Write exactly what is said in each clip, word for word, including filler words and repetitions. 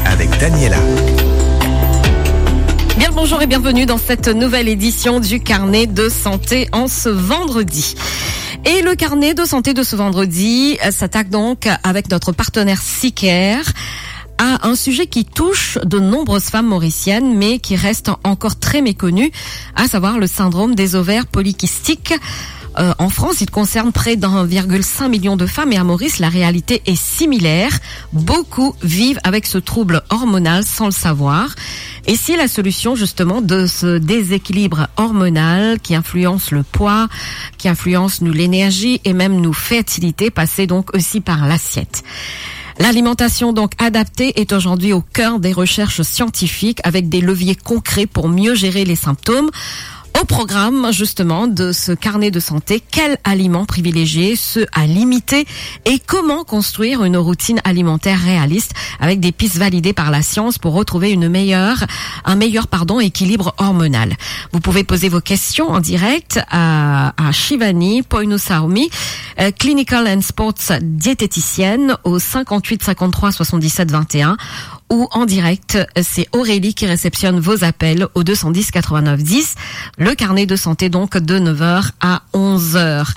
Avec Daniela. Bien le bonjour et bienvenue dans cette nouvelle édition du Carnet de santé en ce vendredi. Et le carnet de santé de ce vendredi, euh, s'attaque donc avec notre partenaire Sicare à un sujet qui touche de nombreuses femmes mauriciennes, mais qui reste encore très méconnu, à savoir le syndrome des ovaires polykystiques. Euh, en France, il concerne près d'un virgule cinq million de femmes et à Maurice, la réalité est similaire. Beaucoup vivent avec ce trouble hormonal sans le savoir. Et si la solution, justement, de ce déséquilibre hormonal qui influence le poids, qui influence nous, l'énergie et même nos fertilités, passait donc aussi par l'assiette. L'alimentation donc adaptée est aujourd'hui au cœur des recherches scientifiques avec des leviers concrets pour mieux gérer les symptômes. Au programme, justement, de ce carnet de santé, quels aliments privilégier, ceux à limiter et comment construire une routine alimentaire réaliste avec des pistes validées par la science pour retrouver une meilleure, un meilleur, pardon, équilibre hormonal. Vous pouvez poser vos questions en direct à, à Shivani Poinusawmi, euh, clinical and sports diététicienne au cinquante-huit cinquante-trois soixante-dix-sept vingt et un ou en direct, c'est Aurélie qui réceptionne vos appels au deux cent dix quatre-vingt-neuf dix, le carnet de santé donc de neuf heures à onze heures.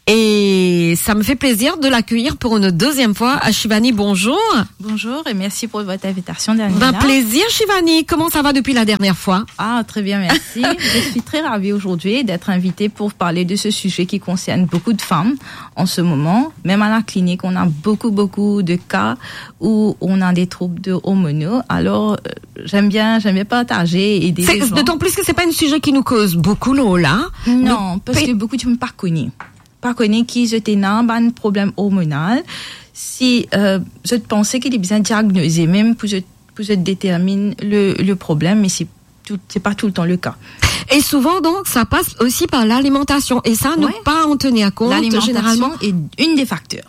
Et ça me fait plaisir de l'accueillir pour une deuxième fois. Ashivani, bonjour. Bonjour et merci pour votre invitation, Daniela. Ben, plaisir, Shivani. Comment ça va depuis la dernière fois ? Ah, très bien, merci. Je suis très ravie aujourd'hui d'être invitée pour parler de ce sujet qui concerne beaucoup de femmes en ce moment. Même à la clinique, on a beaucoup, beaucoup de cas où on a des troubles de hormonaux. Alors, euh, j'aime bien, j'aime bien partager et aider les gens. D'autant plus que c'est pas un sujet qui nous cause beaucoup, Lola. Non, parce que beaucoup de gens pas connus. Pa kone ki zot ena bann problem ormonal, si, euh, zot panse ki li bizin diagnoze mem pou zot, pou zot determinn le, le problem, me se tou, se pa toultan le ka. Et souvent, donc, ça passe aussi par l'alimentation. Et ça, ne pas en tenir compte, généralement. L'alimentation est une des facteurs.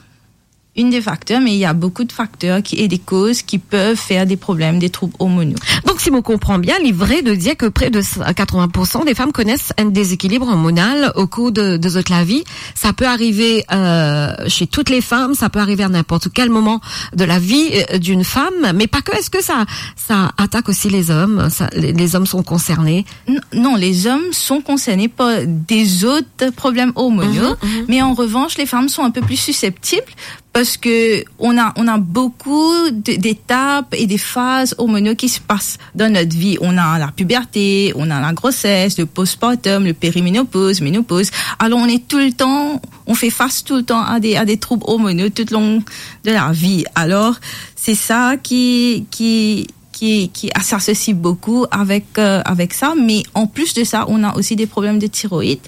Une des facteurs, mais il y a beaucoup de facteurs qui, et des causes qui peuvent faire des problèmes, des troubles hormonaux. Donc, si on comprend bien, il est vrai de dire que près de quatre-vingts pour cent des femmes connaissent un déséquilibre hormonal au cours de, de toute la vie. Ça peut arriver, euh, chez toutes les femmes, ça peut arriver à n'importe quel moment de la vie, euh, d'une femme, mais pas que. Est-ce que ça, ça attaque aussi les hommes ? Ça, les, les hommes sont concernés ? N-, non, les hommes sont concernés par des autres problèmes hormonaux, mais en revanche, les femmes sont un peu plus susceptibles parce que on a, on a beaucoup de, d'étapes et des phases hormonaux qui se passent dans notre vie. On a la puberté, on a la grossesse, le postpartum, le périménopause, ménopause. Alors, on est tout le temps, on fait face tout le temps à des, à des troubles hormonaux tout le long de la vie. Alors, c'est ça qui, qui, qui, qui s'associe beaucoup avec, euh, avec ça. Mais en plus de ça, on a aussi des problèmes de thyroïde.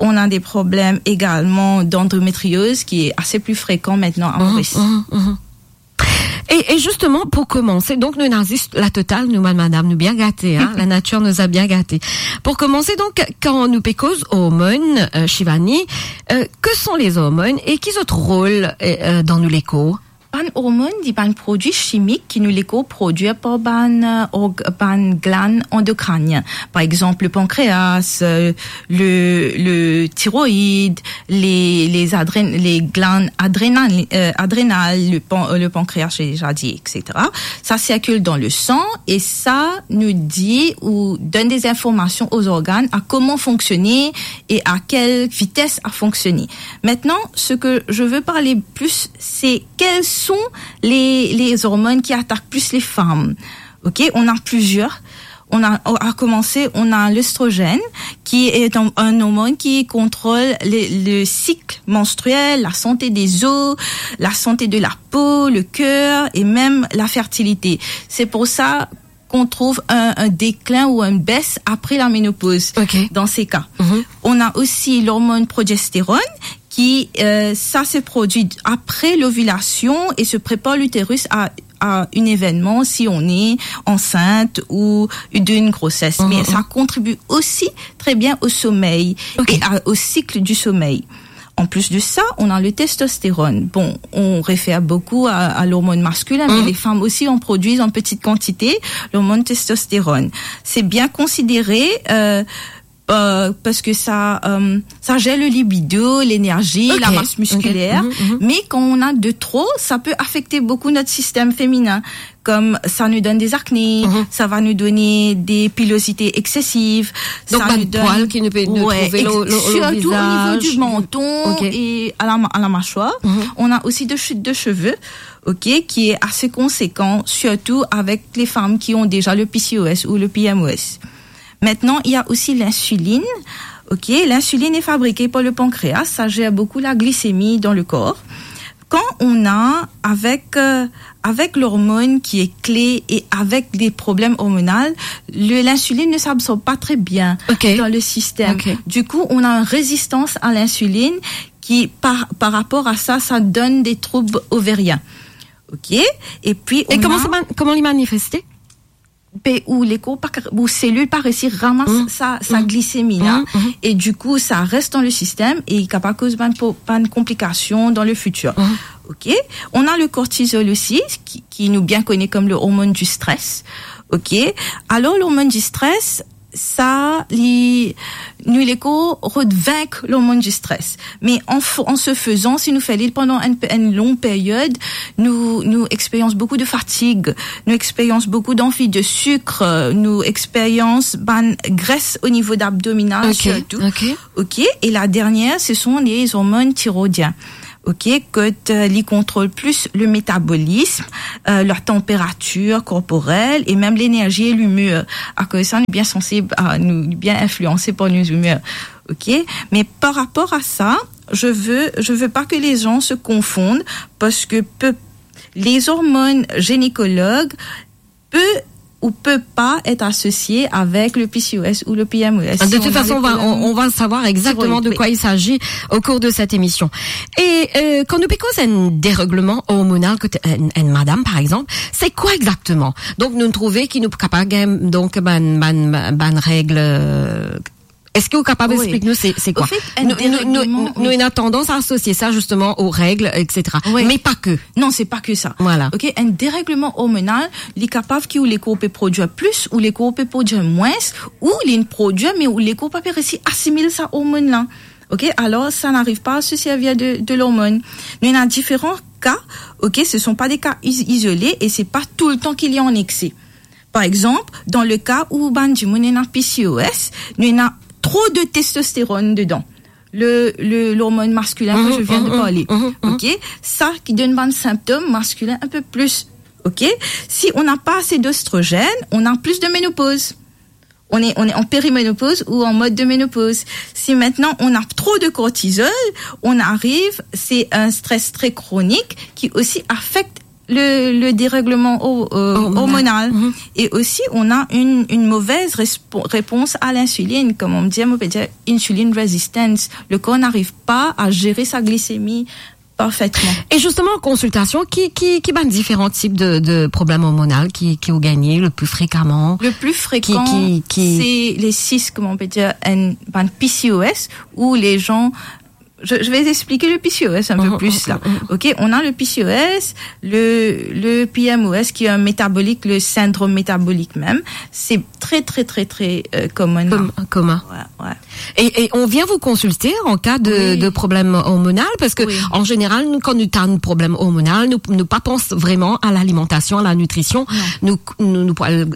On a des problèmes également d'endométriose qui est assez plus fréquent maintenant à Maurice. Mhm, mhm. Et, et justement, pour commencer, donc, nou ena zis la total, nou, madame, nou bien gate, hein, la nature nous a bien gâtés. Pour commencer, donc, kan nou pe koz hormones, euh, Shivani, euh, que sont les hormones et ki zot rol, euh, euh, dans nou lekor ? Bann hormonn, li bann prodwi chimik ki nou lekor prodwir par bann, euh, org-, bann glann andokrinien. Par exemple, le pancréas, euh, le, le thyroïde, les, les adrén-, les glandes adrénales, euh, adrénales, le pan-, euh, le pancréas, j'ai déjà dit, et cetera. Ça circule dans le sang et ça nous dit ou donne des informations aux organes à comment fonctionner et à quelle vitesse à fonctionner. Maintenant, ce que je veux parler plus, c'est quelles sont les, les hormones qui attaquent plus les femmes. Ok, on a plusieurs. On a, à commencer, on a l'œstrogène, qui est un, un hormone qui contrôle le, le cycle menstruel, la santé des os, la santé de la peau, le cœur et même la fertilité. C'est pour ça qu'on trouve un, un déclin ou une baisse après la ménopause. Ok. Dans ces cas. Mhm. On a aussi l'hormone progestérone qui, euh, ça se produit après l'ovulation et se prépare l'utérus à, à un événement si on est enceinte ou d'une grossesse. Mhm. Mais ça contribue aussi très bien au sommeil. Ok. Et à, au cycle du sommeil. En plus de ça, on a le testostérone. Bon, on réfère beaucoup à, à l'hormone masculin, mais les femmes aussi en produisent en petite quantité, l'hormone testostérone. C'est bien considéré, euh, euh, parce que ça, euh, ça gère le libido, l'énergie, la masse musculaire. Mais quand on a de trop, ça peut affecter beaucoup notre système féminin. Comme ça nous donne des acnés, ça va nous donner des pilosités excessives. Donc, ça nous donne, ouais, trouver ex-, surtout au niveau du menton et à la ma-, à la mâchoire. On a aussi de chutes de cheveux, ok, qui est assez conséquent, surtout avec les femmes qui ont déjà le P C O S ou le P M O S. Maintenant, il y a aussi l'insuline. Ok, l'insuline est fabriquée par le pancréas, ça gère beaucoup la glycémie dans le corps. Quand on a, avec, euh, avec l'hormone qui est clé et avec des problèmes hormonaux, le, l'insuline ne s'absorbe pas très bien dans le système. Du coup, on a une résistance à l'insuline qui, par, par rapport à ça, ça donne des troubles ovariens. Ok. Et puis, on a... Kouma li manifeste? Pe ou lekor pa, ou selil pa resi ramas sa, sa glisemi la, et du coup, ça reste dans le système et il capable cause bann po-, bann konplikasion dans le futur. Ok? On a le cortisol aussi, qui, qui nous bien connaît comme le hormone du stress. Ok? Alors, l'hormone du stress, sa, li, nou lekor rod vink l'hormone du stress. Mais en f-, en ce faisant, si nou fer li pandan une, une longue période, nou, nou expérience beaucoup de fatigue, nou expérience beaucoup d'envie de sucre, nou expérience bann gres au niveau abdominal surtout. Ok. Et la dernière, ce sont les hormones thyroïdiennes. Ok, que, euh, li contrôle plus le métabolisme, euh, la température corporelle et même l'énergie et l'humeur. Akoz sa, nou bien sensible, a, nou bien influencé par nos humeurs. Ok, mais par rapport à ça, je veux, je veux pas que les gens se confondent parce que pe-, les hormones gynécologues peut ou peut pas être associé avec le P C O S ou le P M O S. De toute façon, on va, on, on va savoir exactement de quoi il s'agit au cours de cette émission. Et, euh, kan nou pe koz enn dérègleman hormonal kot enn, enn madam, par exemple, c'est quoi exactement? Donc, nou trouve ki nou kapab gagn, donc, bann, bann, bann règles, euh, est-ce que vous capable expliquer nous c'est, c'est quoi? Au fait, un dérèglement, nou, nou, nou, nou ena tandans à associer ça justement aux règles, et cetera. Mais pas que. Non, c'est pas que ça. Voilà. Ok, un dérèglement hormonal, li kapav ki ou lekor pe produir plus, ou lekor pe produir moins, ou li prodwir, mais ou lekor pa pe resi asimil sa hormone la. Ok, alors ça n'arrive pas à se servir de, de l'hormone. Nou ena différents cas, ok, ce sont pas des cas is-, isolés et c'est pas tout le temps qu'il est en excès. Par exemple, dans le cas où bann dimoun ena P C O S, nou ena trop de testostérone dedans. Le, le, l'hormone masculin que je viens de parler. Ok? Ça qui donne bann symptômes masculins un peu plus. Ok? Si on n'a pas assez d'oestrogène, on a plus de ménopause. On est, on est en périménopause ou en mode de ménopause. Si maintenant on a trop de cortisol, on arrive, c'est un stress très chronique qui aussi affecte le, le dérèglement ho-, euh, hormonal. Et aussi, on a une, une mauvaise respo-, réponse à l'insuline, comme on dit, on peut dire insulin resistance. Le corps n'arrive pas à gérer sa glycémie parfaitement. Et justement, en consultation, ki, ki, ki bann différents types de, de problèmes hormonaux ki, ki ou gagn le plus fréquemment? Le plus fréquent, c'est les cysts, comme on peut dire, un, bann P C O S, où les gens je, je vais expliquer le P C O S un peu plus là. Ok, on a le P C O S, le, le P M O S qui est un métabolique, le syndrome métabolique même. C'est très, très, très, très, euh, commun. Commun. Ouais, ouais. Et, et on vient vous consulter en cas de, de problème hormonal, parce que en général, nou, kan nou ena un problème hormonal, nou, nou pa pans vraiment à l'alimentation, à la nutrition. Nou, nou, nou pou, euh,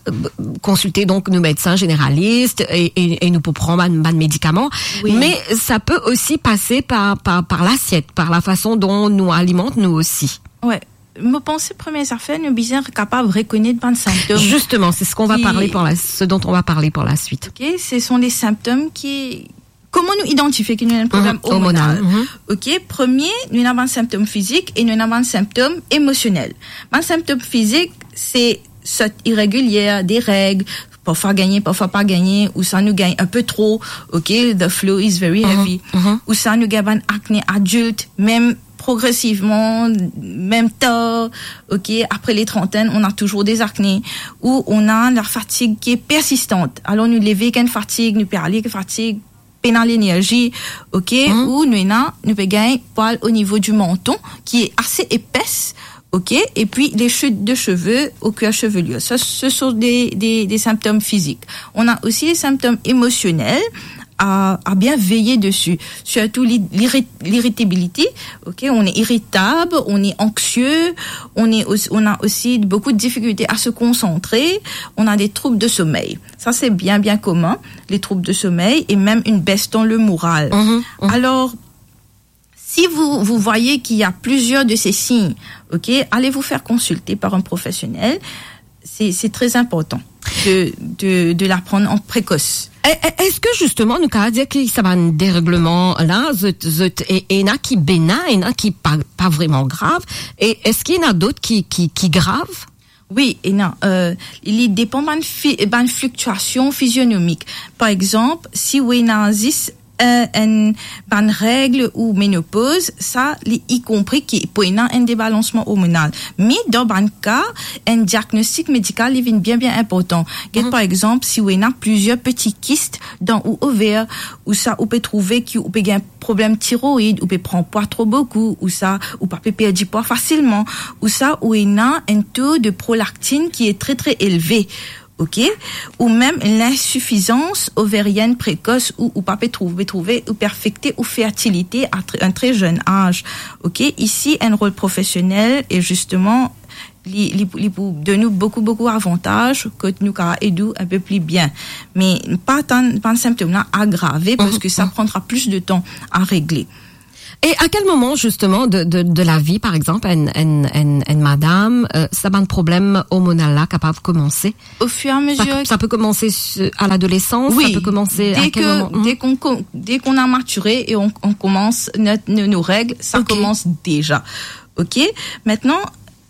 consulter donc nos médecins généralistes et, et, et nou pou pran bann, bann médicaments. Mais ça peut aussi passer par, par, par l'assiette, par la façon dont nou alimant nou aussi. Ouais. Mo panse premie zafer, nou bizin kapav rekonet bann symptom. Justement, c'est ce qu'on va parler pour la, ce dont on va parler pour la suite. Ok, ce sont les symptômes qui, kouma nou idantifie ki nou ena un problème hormonal. Ok, premie, nou ena bann symptom fizik e nou ena bann symptom emosionel. Bann symptom fizik, se sot iregilie, des règles, parfwa gagne, parfwa pa gagne, ou sa nou gagne un peu trop, ok, the flow is very heavy, ou sa nou gagne bann acné adulte, même progressivement, même tard, ok, après les trentaines, on a toujours des acnés, ou on a la fatigue qui est persistante. Alors nou leve avek enn fatig, nou pe ale avek fatig, pena lenerzi, ok, ou nou ena, nou pe gagn pwal au niveau du menton qui est assez épaisse, ok, et puis les chutes de cheveux au cuir chevelu. Ça, ce sont des, des, des symptômes physiques. On a aussi les symptômes émotionnels. à, à bien veiller dessus. Surtout l'ir-, l'irrit-, l'irritabilité, ok, on est irritable, on est anxieux, on est aussi, on a aussi beaucoup de difficultés à se concentrer, on a des troubles de sommeil. Ça, c'est bien, bien commun, les troubles de sommeil et même une baisse dans le moral. Mhm, mhm. Alors, si vous, vous voyez qu'il y a plusieurs de ces signes, ok, allez vous faire consulter par un professionnel. C'est, c'est très important de, de, de la prendre en précoce. E-, e-, eski zisteman nou kapav dir ki sa bann dergleman la, zot, zot, e-, ena ki benen, ena ki pa, pa vreman grav, e eski ena dot ki, ki, ki grav? Wi, ena, euh, li depan bann fi-, bann fliktiasion fizionomik. Par exanp, si ou ena zis, euh, enn, bann reg ou menopoz, sa, li i konpri ki pou ena enn debalansman ormonal. Me dan bann ka, enn diagnostik medikal, li vinn bien, bien inportan. Get, mhm, par exanp, si ou ena plizier peti kist dan ou over, ou sa, ou pe trouve ki ou pe gagn problem tiroid, ou pe pran pwa tro boukou, ou sa, ou pa pe perdi pwa fasilman, ou sa, ou ena enn to de prolaktin ki est très, très élevé, ok? Ou mem linsifizans overienn prekos, ou, ou pa pe trouve, trouve, ou pe afekte ou fertilite à tr-, un très jeune âge, ok? Isi, enn rol profesionel, e zisteman, li, li, li pou donn ou boukou, boukou avantaz, kot nou kapav ed ou enn pe pli bien. Me pa tann, pa tann sintom la agrave, mhm, parski sa, mhm, prendra plis de tan à régler. E a kel moman, zisteman, de, de, de la vi, par exanp, enn, enn, enn, enn madam, euh, sa bann problem ormonal la kapav komanse? Au fur et à mesure. Sa, sa pe komanse su-, à l'adolescence, wi, sa pe komanse a kel moman? Dès que, dès qu'on com-, dès qu'on a maturé et on, on commence notre, nos, nos règles, ça, ok, commence déjà. Ok? Maintenant,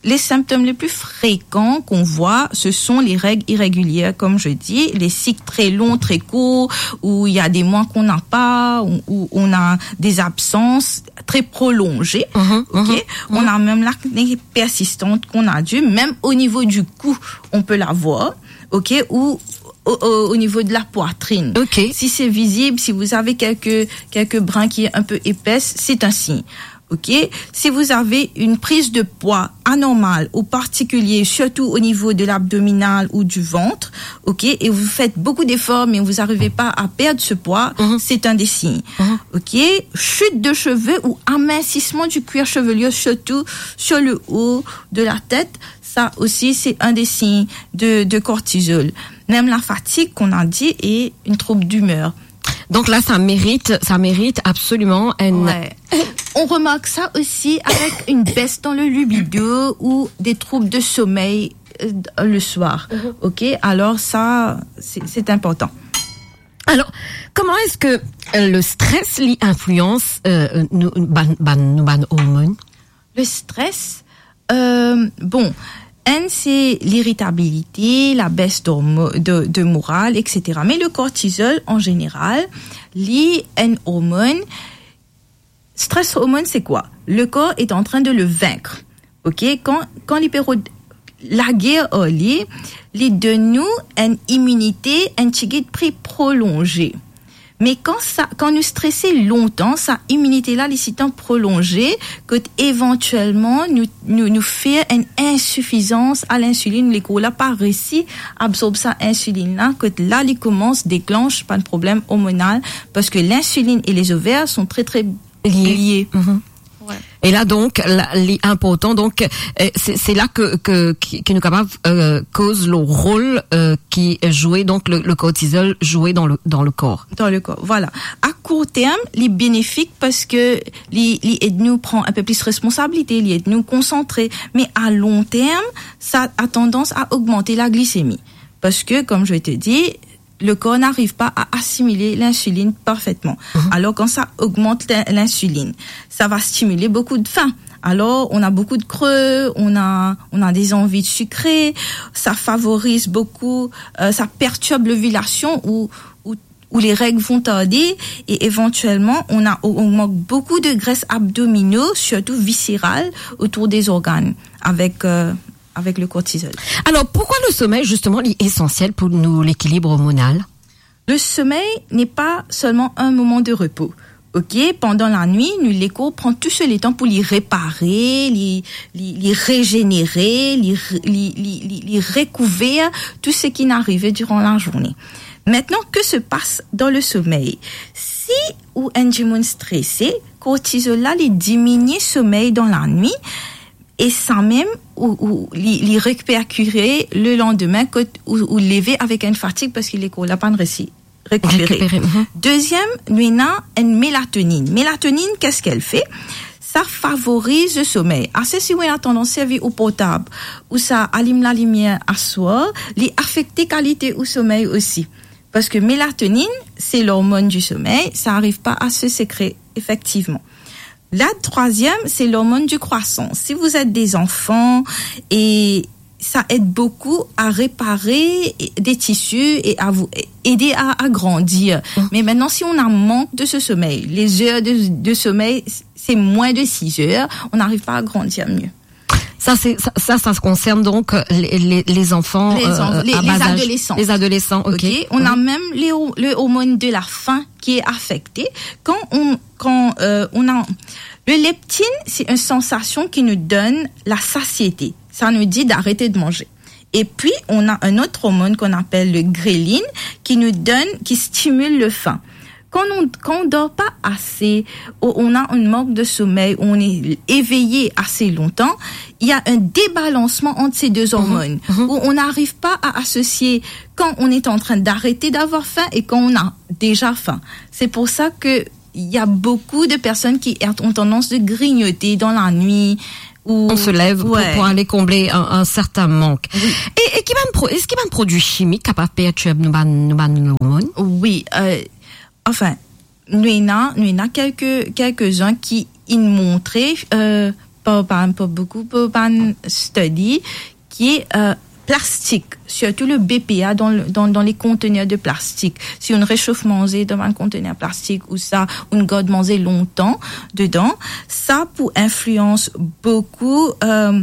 les symptômes les plus fréquents qu'on voit, ce sont les règles irrégulières, comme je dis, les cycles très longs, très courts, où il y a des mois qu'on n'a pas, où, où on a des absences très prolongées, mhm, ok? Mhm. On a même l'acné persistante qu'on a dû, même au niveau du cou, on peut l'avoir, ok? Ou au, au, au niveau de la poitrine. Ok. Si c'est visible, si vous avez quelques, quelques brins qui est un peu épaisse, c'est un signe. Ok? Si vous avez une prise de poids anormale ou particulier, surtout au niveau de l'abdominal ou du ventre, ok, et vous faites beaucoup d'efforts, mais vous n'arrivez pas à perdre ce poids, mhm, c'est un des signes. Mhm. Ok? Chute de cheveux ou amincissement du cuir chevelu, surtout sur le haut de la tête, ça aussi, c'est un des signes de, de cortisol. Même la fatigue, qu'on a dit, et une trouble d'humeur. Donc là, ça mérite, ça mérite absolument un... Ouais. On remarque ça aussi avec une baisse dans le libido ou des troubles de sommeil, euh, le soir. Mhm. Ok, alors ça, c'est, c'est important. Alors, comment est-ce que, euh, le stress, li influence, euh, nou, bann, bann, nou bann hormones? Le stress, euh, bon, enn, c'est l'irritabilité, la baisse d'hormo-, de, de morale, et cetera. Mais le cortisol, en général, li enn hormone. Stress hormone, c'est quoi? Le corps est en train de le vaincre. Ok? Kan, kan li pe rod-, lager ar li, li donn nou enn iminite, enn tigit pli prolonze. Me kan sa, kan nou strese lontan, sa iminite la, li sitan prolonze, kot evantielman, nou, nou, nou fer enn insifizans a linsilinn, lekor la pa resi absorb sa insilinn la, kot la, li koumans deklanch bann problem ormonal, parski linsilinn e les ovaires sont très, très liés. Liés. Mhm. Ouais. E la, donk, la, li inportan, donk, euh, se, se la ke, ke, ki, ki nou kapav, euh, koz lor rol, euh, ki zwe, donk, le, le cortisol zwe dan le, dan le kor. Dan le kor, voilà. A kour term, li benefik parski li, li ed nou pran enn pe plis responsabilite, li ed nou konsantre. Me a lon term, sa a tandans a ogmante laglisemi. Parski, comme je te dis, le corps n'arrive pas à assimiler l'insuline parfaitement. Mhm. Alors, quand ça augmente l'in-, l'insuline, ça va stimuler beaucoup de faim. Alors, on a beaucoup de creux, on a, on a des envies de sucrer, ça favorise beaucoup, euh, ça perturbe l'ovulation où, où, où les règles vont tarder et éventuellement, on a, on augmente beaucoup de graisses abdominaux, surtout viscérales, autour des organes avec, euh, avec le cortisol. Alors, pourquoi le sommeil, justement, est essentiel pour nous, l'équilibre hormonal ? Le sommeil n'est pas seulement un moment de repos. Ok, pandan lanwit, nou lekor pran tou so letan pou li repare, li, li, li rejenere, li re-, li, li, li, li rekouver tou seki inn arive diran lazourne. Maintenant, que se passe dans le sommeil? Si ou enn dimoun strese, kortizol la, li diminie somey dan lanwit, e sa mem, ou, ou, li, li reperkire le landime, kot ou, ou leve avek enn fatig, parski lekor la pa'nn resi rekipere. Rekipere, mhm. Deziem, nou ena enn melatoninn. Melatoninn, qu'est-ce qu'elle fait? Sa favoriz le somey. Ase si ou ena tandans servi ou portab, ou sa alim lalimier aswar, li afekte kalite ou somey osi. Parski melatoninn, se l'hormone du sommeil, sa ariv pa a se sekre, efektivman. La troisième, c'est l'hormone du croissant. Si vous êtes des enfants et ça aide beaucoup à réparer des tissus et à vous aider à, à grandir. Mm. Mais maintenant, si on a manque de ce sommeil, les heures de, de sommeil, c'est moins de six heures, on n'arrive pas à grandir mieux. Ça, c'est, ça, ça, ça concerne donc, euh, les, les, les enfants, les euh, en-, les, à bas âge. Les adolescents. Les adolescents, ok. Ok. On a même les ho-, le hormone de la faim qui est affecté. Quand on, quand, euh, on a, le leptine, c'est une sensation qui nous donne la satiété. Ça nous dit d'arrêter de manger. Et puis, on a un autre hormone qu'on appelle le ghrelin qui nous donne, qui stimule le faim. Quand on, quand on dort pas assez, ou on a un manque de sommeil, ou on est éveillé assez longtemps, il y a un débalancement entre ces deux hormones, mhm, où on n'arrive pas à associer quand on est en train d'arrêter d'avoir faim et quand on a déjà faim. C'est pour ça que il y a beaucoup de personnes qui ont tendance de grignoter dans la nuit. Ou... On se lève pour, ouais, pour aller combler un, un certain manque. Oui. E, e ki bann pro-, eski bann prodwi chimik kapav pertirb nou bann, nou bann lormonn? Oui, euh, enfin, nou ena, nou ena kelke, kelkezin ki inn montre, euh, par, par, par beaucoup, par bann study, ki, euh, plastik, surtout le B P A dans le, dans, dans les conteneurs de plastique. Si ou resof manze dan bann kontener plastik ou sa, ou gard manze lontan dedan, sa pou influans boukou, euh,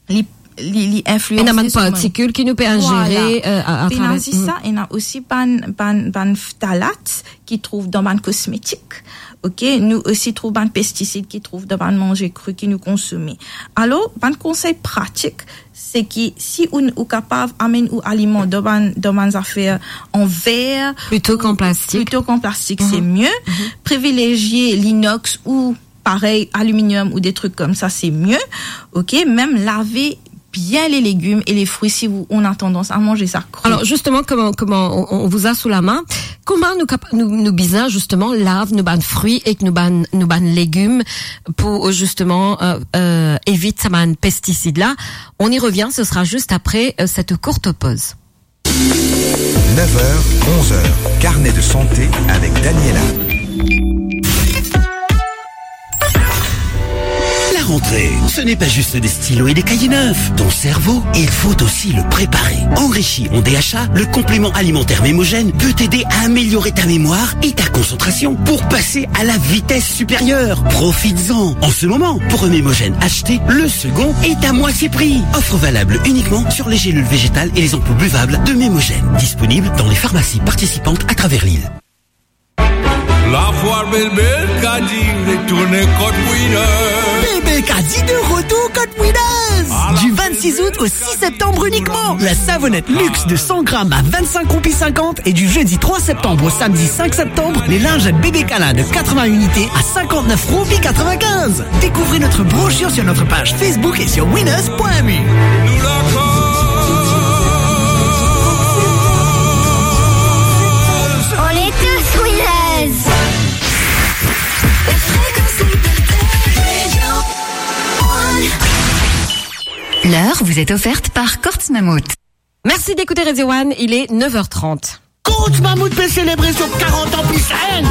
li, li, li influans... Ena bann partikil ki nou pe inzere, euh, a, a traver. Voilà. Pena zis sa, ena osi bann, bann, bann ftalat ki trouv dan bann kosmetik. Ok, nou osi trouv bann pestisid ki trouv dan bann manze kri ki nou konsome. Alor, bann konsey pratik, se ki si ou, ou kapav amenn ou aliman dan bann, dan bann zafer an ver, plito k'an plastik, plito k'an plastik, se mie. Mhm. Privilezie linox ou parey aluminium ou de trik koumsa, se mie. Ok, mem lave bien les légumes et les fruits si ou, ou ena tandans a manze sa kri. Alors, justement, comment, comment on, on vous a sous la main, comment nous capa-, nous, nous bizin, justement, lav nou bann fri ek nou bann, nou bann legim pour, euh, justement, euh, euh, evit sa bann pestisid la? On y revient, ce sera juste après, euh, cette courte pause. Neuf heures, onze heures, carnet de santé avec Daniela. La rentrée, ce n'est pas juste des stylos et des cahiers neufs. Ton cerveau, il faut aussi le préparer. Enrichi en D H A, le complément alimentaire Mémogène peut t'aider à améliorer ta mémoire et ta concentration pour passer à la vitesse supérieure. Profites-en. En ce moment, pour un Mémogène acheté, le second est à moitié prix. Offre valable uniquement sur les gélules végétales et les ampoules buvables de Mémogène. Disponible dans les pharmacies participantes à travers l'île. Lafwar Bébé Kadi retourne kot Winners. Bébé Kadi de retour kot Winners. Du vingt-six août au six septembre uniquement, la savonnette luxe de cent grammes à vingt-cinq roupies cinquante et du jeudi trois septembre au samedi cinq septembre, les lingettes bébé câlin de quatre-vingts unités à cinquante-neuf roupies quatre-vingt-quinze. Découvrez notre brochure sur notre page Facebook et sur winners point M U. On est tous Winners. L'heure vous est offerte par Courts Mammouth. Merci d'écouter Radio One, il est neuf heures trente. Courts Mammouth pe selebre so karant an plis enn.